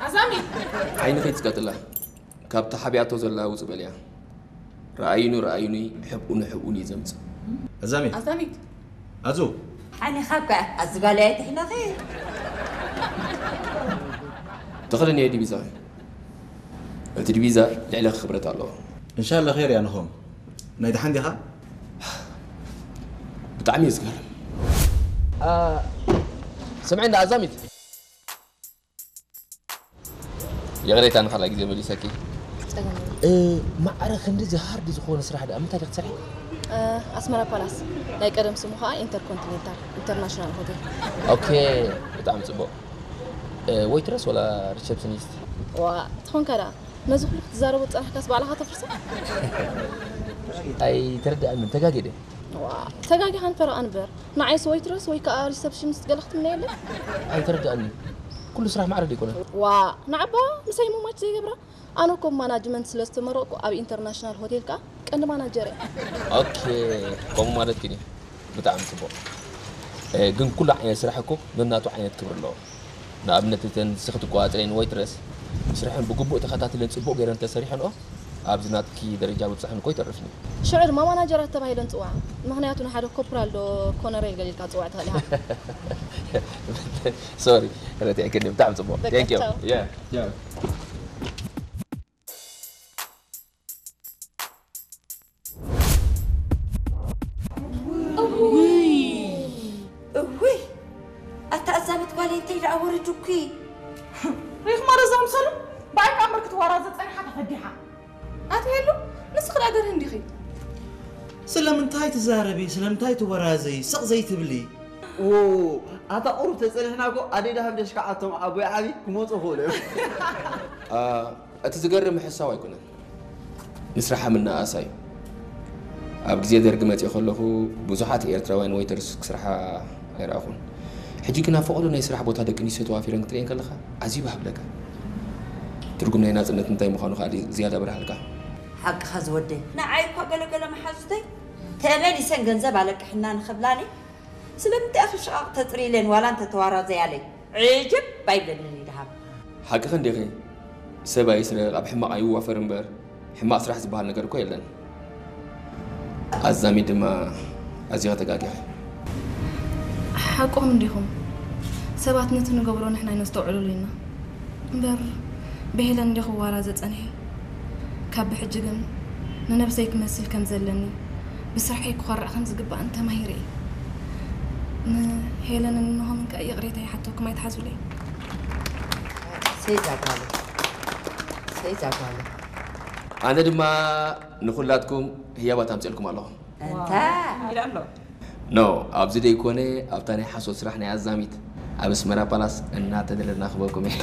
ኣዛሚት ዓይኒ ከይትስቀጥላ። ካብቲ ሓቢኣቶ ዘላ ውጽእ በልያ። ረኣዩኒ ረኣዩኒ፣ ሕብኡኒ ሕብኡኒ እዩ ዘምጽእ። ኣዛሚት ኣዛሚት ኣዙ ዓይንኻ እኳ ኣዝጋለያ ትሕለኺ። ተኸደንዮ ዲቪዛ። እቲ ዲቪዛ ልዕለኺ ክብረት ኣለዎ። እንሻላ ኸይር እያ ንኾም። ናይ ደሓን ዲኻ? ብጣዕሚ እዩ ዝገርም። ስምዒ እንዳ ኣዛሚት ይቕሬታ ንኻልኣይ ግዜ መሊሰኪ። ጸገም የለን። ማዕረ ክንድዚ ሃርድ ዝኾነ ስራሕ ደኣ ምንታይ ዲኺ ትሰርሒ? ኣስመራ ፓላስ ናይ ቀደም ስሙ ከዓ ኢንተርኮንቲኔንታል ኢንተርናሽናል ሆቴል። ኦኬ፣ ብጣዕሚ ጽቡቕ። ወይትረስ ወላ ሪሰፕሽኒስት? ዋ ትኾንካ ደኣ ነዚ ኩሉ ክትዛረቦ ዝጸናሕካስ ባዕልኻ ተፍርሶ? ኣይተረድኣንን፣ ተጋግየ ድየ? ዋ ተጋጊኻ ንፈረቓ ንበር ንዓይስ ወይትረስ ወይ ከዓ ሪሰፕሽኒስት ገለ ክትምነየለይ? ኣይተረድኣንን። ኩሉ ስራሕ ማዕረ ደይኮነ። ዋ ንዓባ ምሳይ ሙማች ዘይገብራ? ኣነ እኮ ብማናጅመንት ስለ ዝተመረቕኩ ኣብ ኢንተርናሽናል ሆቴል ከዓ ቀንዲ ማናጀር እየ። ኦኬ፣ ከምኡ ማለትኪ ድዩ? ብጣዕሚ ጽቡቕ። ግን ኩሉ ዓይነት ስራሕ እኮ ነናቱ ዓይነት ክብሪ ኣለዎ። ንኣብነት እተን ንስኺ ትቆጻጸርየን ወይትረስ ስርሐን ብግቡእ ተኸታቲለን ጽቡቕ ገይረን እንተሰሪሐንኦ ኣብዚ ናትኪ ደረጃ ምብጻሕን እኮ ይተርፍን እዩ። ሽዑ ድማ ማናጀራት ተባሂለን ጽውዓ። ምኽንያቱ ንሓደ ኮፕራል ዶ ኮነሬል ገለ ኢልካ ትጽውዕ ትኽእል ኢኻ። ሶሪ፣ ረቲዕክኒ። ብጣዕሚ ጽቡቕ። በቃ፣ Thank you. ቻው። Yeah. እውይ ኣታ ኣዛሚት ጓለይ እንታይ ደኣ ወረዱኪ? ሪኽማ ረዛ ምሰሉ ብኣይ ከኣ ምርክት ዋራ ዘጸኒሓ ተፈዲሓ። ኣቲ ሄሉ ንስኺ ደኣ ገርህ እንዲኺ። ስለምንታይ ትዛረቢ ስለምንታይ ትወራዘይ ስቕ ዘይትብሊ? ዎ ኣታ ቁሩብ ተጸኒሕና እኮ ኣደይ ደሃብ ደሽካዓቶም ኣቦይ ዓቢ ክመጹ ክእሉ እዮም። እቲ ዝገርም ምሕሳው ኣይኮነን፣ ንስራሓ ምንእኣሳ እዩ። ኣብ ግዜ ደርጊ መጺኤ ከለኹ ብዙሓት ኤርትራውያን ወይተርስ ክስርሓ ኣይረኣኹን። ሕጂ ግን ኣብ ፈቐዶ ናይ ስራሕ ቦታ ደቂ ኣንስትዮ ተዋፊረን ክትርእየን ከለኻ ዓዚብ ሃብለካ። ትርጉም ናይ ናጽነት እንታይ ምዃኑ ከኣ ዝያዳ ኣብርሃልካ። ሓቅኻ ዝወደይ። ንዓይ እኳ ገለገለ መሓዙተይ ተመሊሰን ገንዘብ ኣለቅሕና ንኽብላኒ ስለምንታይ ኢኺ ሽቓቕ ተጥርይለን ዋላ እንተተዋራዘያለይ? ዕጅብ ኣይብለንን እዩ ደሃብ። ሓቅኺ እንዲኺ። ሰብ ኣይስረቕ፣ ኣብ ሕማቕ ኣይዋፈር እምበር ሕማቕ ስራሕ ዝበሃል ነገር እኮ የለን። ኣዛሚ ድማ ኣዚኺ ተጋጊኺ። ሓቅኹም እንዲኹም። ሰባት ነቲ ንገብሮ ንሕና ኣይነስተውዕለሉ ኢና። እምበር ብሄለን እንዲኹ ዋላ ዘጸንሐ። ካብ ብሕጂ ግን ንነብሰይ ክመስል ከም ዘለኒ፣ ብስርሐይ ክኾርዕ ከም ዝግባእን ተማሂረ እየ። ንሄለንን ንሆምን ከኣ ይቕሬታ ይሓተኩም፣ ኣይትሓዙለይ። ሰይ ዛጓለ ሰይ ዛጓለ ኣነ ድማ ንኹላትኩም ህያባት ኣምፅኤልኩም ኣለኹ። እንታ ኖ ኣብዚ ደይኮነ ኣብታ ናይ ሓሶት ስራሕ ናይ ኣዛሚት ኣብ ኣስመራ ፓላስ እናተደለልና ክበኩም እየ።